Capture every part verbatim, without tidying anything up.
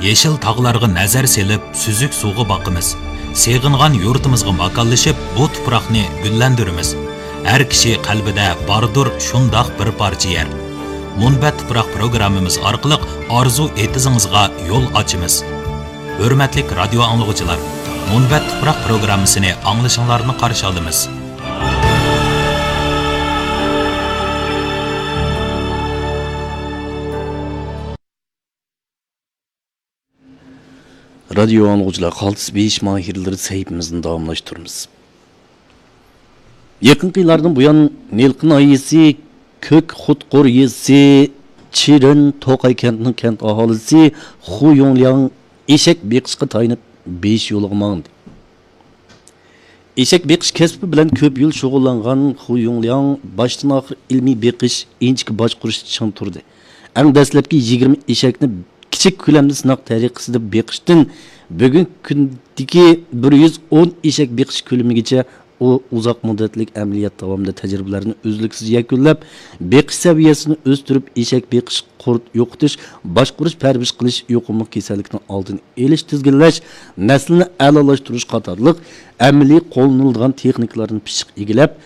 يېشىل تاغلارغا نەزەر سېلىپ، سۈزۈك سۇغا باقىمىز. سېغىنغان يۇرتىمىزغا ماكانلىشىپ، بۇ تۇپراقنى گۈللەندۈرىمىز. ھەر كىشى قەلبىدە باردۇر شۇنداق بىر پارچە يەر. مۇنبەت تۇپراق پروگراممىمىز ئارقىلىق ئارزۇ ئېتىزىڭىزغا يول ئاچىمىز. ھۆرمەتلىك رادىيو ئاڭلىغۇچىلار، مۇنبەت تۇپراق پروگراممىسىنى ئاڭلىشىڭلارنى قارشى ئالىمىز. رادىيو ئاڭلىغۇچىلار، قالتىس بېيىش ماھىرلىرى سەھىپىمىزنى داۋاملاشتۇرىمىز. يېقىنقى يىللاردىن بۇيان، نىلقا ناھىيەسى كۆك خۇتقۇر يېزىسى چىرىن توقاي كەنتىنىڭ كەنت ئاھالىسى خۇ يۇڭلياڭ ئېشەك بېقىشقا تايىنىپ، بېيىش يولىغا ماڭدى. ئېشەك بېقىش كەسپى بىلەن كۆپ يىل شۇغۇللانغان خۇ يۇڭلياڭ باشتىن ئاخىر ئىلمىي بېقىش، ئىنچىكە باشقۇرۇشتا چىڭ تۇردى. ئەڭ دەسلەپكى يىگىرمە ئېشەكنى كىچىك كۆلەمدە سىناق تەرىقىسىدە بېقىشتىن بۈگۈنكى كۈندىكى بىر يۈز ئون ئېشەك بېقىش كۆلىمىگىچە ئۇ ئۇزاق مۇددەتلىك ئەمەلىيەت داۋامىدا تەجرىبىلەرنى ئۈزلۈكسىز يەكۈنلەپ، بېقىش سەۋىيەسىنى ئۆستۈرۈپ، ئېشەك بېقىش، قۇرت يوقىتىش، باشقۇرۇش، پەرۋىش قىلىش، يۇقۇملۇق كېسەللىكنىڭ ئالدىنى ئېلىش، تىزگىنلەش، نەسىلنى ئەلالاشتۇرۇش قاتارلىق ئەمەلىي قوللىنىلىدىغان تېخنىكىلارنى پىششىق ئىگىلەپ،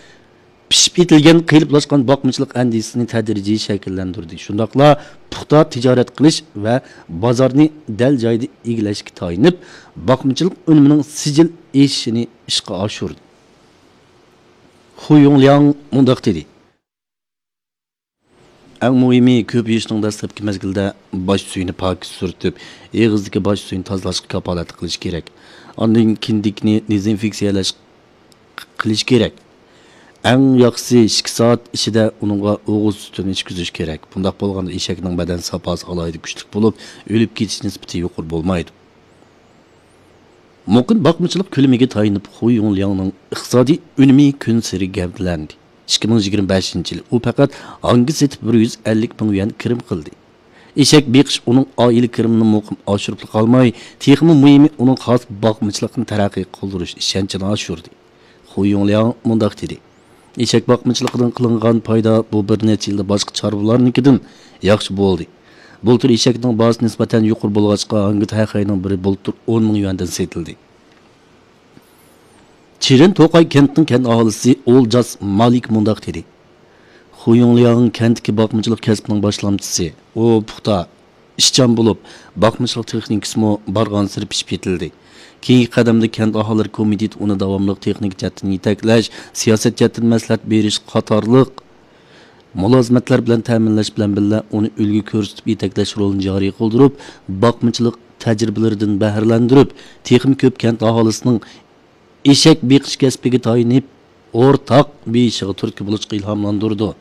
پىشىپ يېتىلگەن، قېلىپلاشقان باقمىچىلىق ئەندىزىسىنى تەدرىجىي شەكىللەندۈردى. شۇنداقلا پۇختا تىجارەت قىلىش ۋە بازارنى دەل جايىدا ئىگىلەشكە تايىنىپ، باقمىچىلىق ئۈنۈمىنىڭ سىجىل ئېشىشىنى ئىشقا ئاشۇردى. خۇ يۇڭلياڭ مۇنداق دېدى. ئەڭ مۇھىمى، كۆپىيىشنىڭ دەسلەپكى مەزگىلىدە باش سۈيىنى پاكىز سۈرتۈپ، ئېغىزدىكى باش سۈيىنى تازىلاشقا كاپالەتلىك قىلىش كېرەك. ئاندىن كىندىكنى دېزىنفېكسىيەلەش قىلىش كېرەك. ئەڭ ياخشىسى، ئىككى سائەت ئىچىدە ئۇنىڭغا ئوغۇز سۈتىنى ئىچكۈزۈش كېرەك. بۇنداق بولغاندا ئېشەكنىڭ بەدەن ساپاسى ئالاھىدە كۈچلۈك بولۇپ، ئۆلۈپ كېتىش نىسبىتى يۇقىرى بولمايدۇ. مۇقىم باقمىچىلىق كۆلىمىگە تايىنىپ، خۇ يۇڭلياڭنىڭ ئىقتىسادىي ئۈنۈمى كۈنسېرى گەۋدىلەندى. ئىككى مىڭ يىگىرمە بەشىنچى يىلى ئۇ پەقەت ھاڭگا سېتىپ، بىر يۈز ئەللىك مىڭ يۈەن كىرىم قىلدى. ئېشەك بېقىش ئۇنىڭ ئائىلە كىرىمىنى مۇقىم ئاشۇرۇپلا قالماي، تېخىمۇ مۇھىمى، ئۇنىڭ خاس باقمىچىلىقنى تەرەققىي قىلدۇرۇش ئىشەنچىنى ئاشۇردى. خۇ يۇڭلياڭ مۇنداق دېدى: ئېشەك باقمىچىلىقىدىن قىلىنغان پايدا بۇ بىر نەچچە يىلدا باشقا چارۋىلارنىڭكىدىن ياخشى بولدى. بۇلتۇر ئېشەكنىڭ باھاسى نىسبەتەن يۇقىرى بولغاچقا، ھاڭگا تەخەينىڭ بىرى بۇلتۇر ئون مىڭ يۈەندىن سېتىلدى. چىرىن توقاي كەنتىنىڭ كەنت ئاھالىسى ئولجاس مالىك مۇنداق دېدى: خۇ يۇڭلياڭ كەنتتىكى باقمىچىلىق كەسپىنىڭ باشلامچىسى. ئۇ پۇختا، ئىشچان بولۇپ، باقمىچىلىق تېخنىكىسىمۇ بارغانسېرى پىشىپ يېتىلدى. كېيىنكى قەدەمدە كەنت ئاھالىلىرى كومىتېتى ئۇنى داۋاملىق تېخنىكا جەھەتتىن يېتەكلەش، سىياسەت جەھەتتىن مەسلىھەت بېرىش قاتارلىق مۇلازىمەتلەر بىلەن تەمىنلەش بىلەن بىللە، ئۇنى ئۈلگە كۆرسىتىپ يېتەكلەش رولىنى جارى قىلدۇرۇپ، باقمىچىلىق تەجرىبىلىرىدىن بەھرىلەندۈرۈپ، تېخىمۇ كۆپ كەنت ئاھالىسىنىڭ ئېشەك بېقىش كەسپىگە تايىنىپ، ئورتاق بېيىشىغا تۈرتكە بولۇشقا ئىلھاملاندۇرىدۇ.